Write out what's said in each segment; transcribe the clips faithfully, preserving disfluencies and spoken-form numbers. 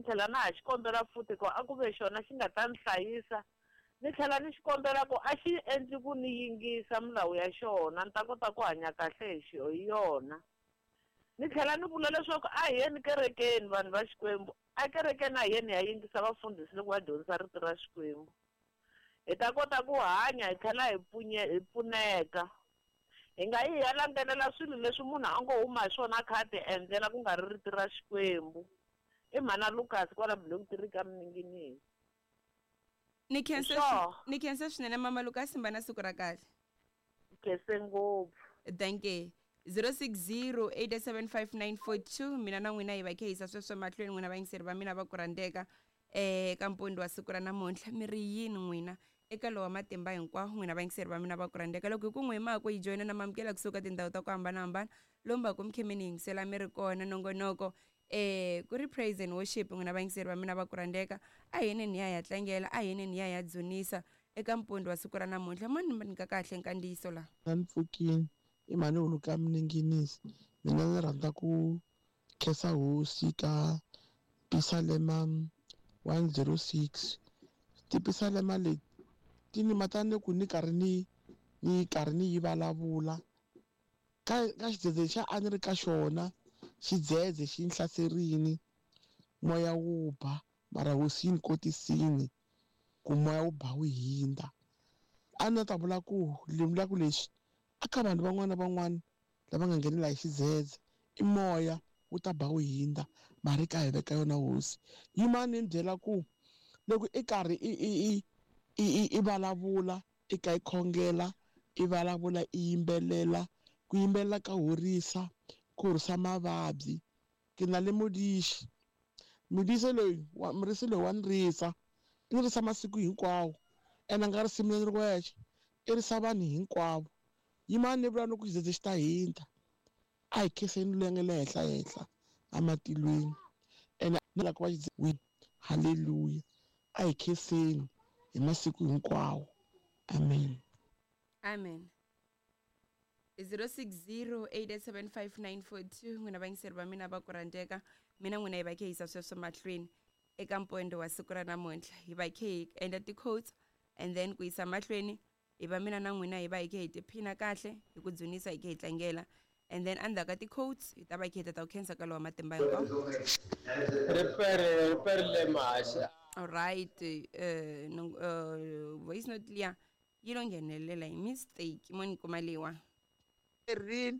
Tlhela na ha xi kombela futhi ku a ku ve xona xi nga ta ni hlayisa. Ni tlhela ni xi kombela ku a xi endli ku ni yingisa milawu ya xona, ni ta kota ku hanya kahle hi xo hi yona. Ni tlhela ni vula leswaku a hi yeni kerekeni vanhu va Xikwembu. A kerekeni a hi yeni hi ya yingisa vafundhisi loko va dyondzisa rito ra Xikwembu. Hi ta kota ku hanya hi tlhela hi punye hi pfuneka. Hi nga yi hi ya landzelela swilo leswi munhu a ngo huma hi swona a kha a ti endlela ku nga ri rito ra Xikwembu. I mhana Lucas kwala Block three ka Mninginisi. Ni khensa Sure. ni khensa swinene mama Lucas, mba na siku ra kahle. Khense ngopfu. Thank you. zero six zero eight seven five nine four two. Mina na n'wina hi va khe hisa sweswo mahlweni, n'wina vayingiseri va mina va ku rhandzeka eh ka mpondo wa siku ra namuntlha. Mi ri yini n'wina eka lowa matimba hinkwawo, n'wina vayingiseri va mina va ku rhandzeka? Loko hi ku n'wi mhaka yi joyina na mamukela kusuka tindhawu ta ku hambanahambana lomu va ku mi khe mi ni yingisela mi ri kona nongonoko eh ku ri praise and worship. N'wina vayingiseri va mina va ku rhandzeka, a hi yeni ni ya ya tlangela, a hi yeni ni ya ya dzunisa eka mpondo wa siku ra namuntlha. Mo ni nyika kahle nkandziyiso laha. Na ni pfukini i mhani huluka Mninginisi. Mina ni rhandza ku khensa hosi ka Pisalema one zero six. Tipisalema leti ti ni mata ni ku ni karhi ni ni karhi ni yi vulavula ka ka xidzedze xa a ni ri ka xona, xidzedze xi ni hlaserini, moya wu ba, mara hosi yi ni kotisini ku moya wu ba wu hindza. A ni ta vula ku ni vula ku leswi a ka vanhu van'wana na van'wana lava nga nghenela hi xidzedze, i moya wu ta ba wu hindza, mara i ka hi veka yona hosi. Yimani ni byela ku loko i karhi i i i i i i vulavula, i ka i khongela, i vulavula, i yimbelela, ku yimbelela ka horisa, ku horisa mavabyi. Ke na le mudixi, mudisi loyi wa murisi loyi wa ni risa, i ni risa masiku hinkwawo, ene a nga risi mina ni ri wexe, i risa vanhu hinkwavo. Yimani ni vula loko xidzedze xi ta hindza, a hi khenseni loyi a nga le henhla henhla ematilweni, ene ni lava ku va xidzedze. Haleluya, a hi khenseni hi masiku hinkwawo. Amen. Amen. zero six zero eight seven five nine four two. N'wina vayingiseri va mina va ku rhandzeka, mina n'wina hi va khe hisa sweswo mahlweni eka mpondo wa siku ra namuntlha. Hi va khe hi endla ti-quotes and then ku yisa mahlweni hi va mina na n'wina hi va hi khe hi tiphina kahle hi ku dzunisa, hi khe hi tlangela, and then endzhaku ka ti-quotes hi ta va hi khe hi tata ku khensa ka lowa matimba hinkwawo. Ripere, ripere le mahaxi. All right, uh, no, uh, voice note liya yi lo nghenelela hi mistake mo ni kuma leyiwa. Rini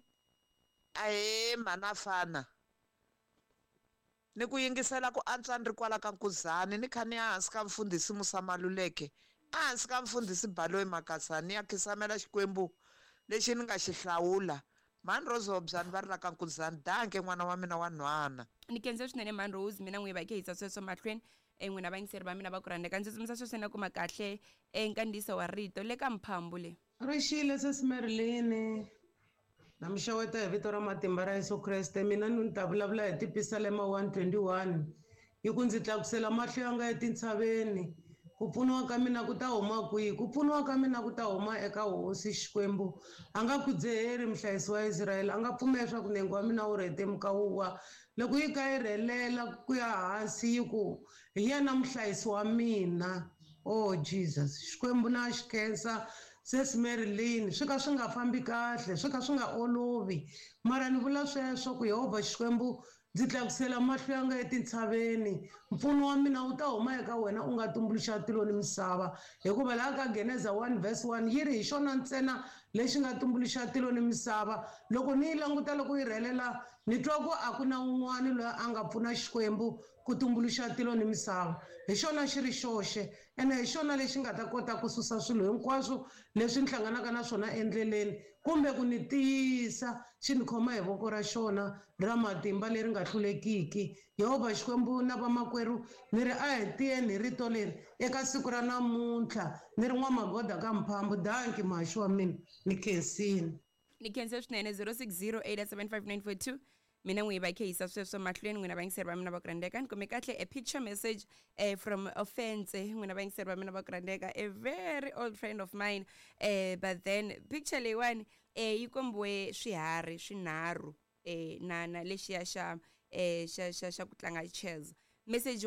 ahee mhana fana, ni ku yingisela ku antswa ni ri kwala ka Nkuzani, ni kha ni ya hansi ka mfundhisi Musa Maluleke, a hansi ka mfundhisi Baloyi Makasani, ni ya khisamela Xikwembu lexi ni nga xi hlawula. Mhani Rose Hobyani va ri la ka Nkuzani. Danke n'wana wa mina wa nhwana. Ni khensa swinene mhani Rose, mina n'wi va khe hisa sweswo mahlweni. E n'wina vayingiseri va mina va ku rhandzeka, ndzi tsutsumisa sweswo na kuma kahle e nkandziyiso wa rito le ka mphambu le. Rixile sesi Marilyn, na mi xeweta hi vito ra matimba ra Yesu Kreste. Mina ni ta vulavula hi Tipisalema one twenty-one, yi ku ndzi tlakusela mahlo ya nga etintshaveni, ku pfuniwa ka mina ku ta huma kwihi? Ku pfuniwa ka mina ku ta huma eka Hosi Xikwembu. A nga khudzeheri muhlayisi wa Israyele, a nga pfumeli leswaku nenge wa mina wu rhetemuka wu wa. Loko yi ka yi rhelela ku ya hansi yi ku hi yena muhlayisi wa mina. Oh Jesus, Xikwembu na xi khensa. Sesi Marilyn, swi ka swi nga fambi kahle, swi ka swi nga olovi, mara ni vula sweswo ku Yehovha Xikwembu ndzi tlakusela mahlo ya nga etintshaveni, mpfuno wa mina wu ta huma eka wena u nga tumbuluxa tilo ni misava. Hikuva laha ka Geneza one verse one yi ri hi xona ntsena lexi nga tumbuluxa tilo ni misava. Loko ni yi languta loko yi rhelela, ni twa ku a ku na un'wana loyi a nga pfuna Xikwembu ku tumbuluxa tilo ni misava. Hi xona xi ri xoxe, ene hi xona lexi nga ta kota ku susa swilo hinkwaswo leswi ni hlanganaka na swona endleleni, kumbe ku ni tiyisa xi ni khoma hi voko ra xona ra matimba leri nga hlulekiki. Yehovha Xikwembu na vamakwerhu, ni ri a hi tiyeni hi rito leri eka siku ra namuntlha. Ni ri n'wamagoda ka mphambu. Danki muhaxi wa mina, ni khensini. Ni khense swinene. zero six zero eight seven five nine four two. Mina n'wi va khe hisa sweswo mahlweni, n'wina vayingiseri va mina va ku rhandzeka. Ni kume kahle a picture message eh, from Offense, n'wina vayingiseri va mina va ku rhandzeka, a very old friend of mine, eh, but then picture leyiwani eh, yi kombiwe swiharhi swinharhu eh, na na lexiya xa eh, xa xa xa ku tlanga chess. Message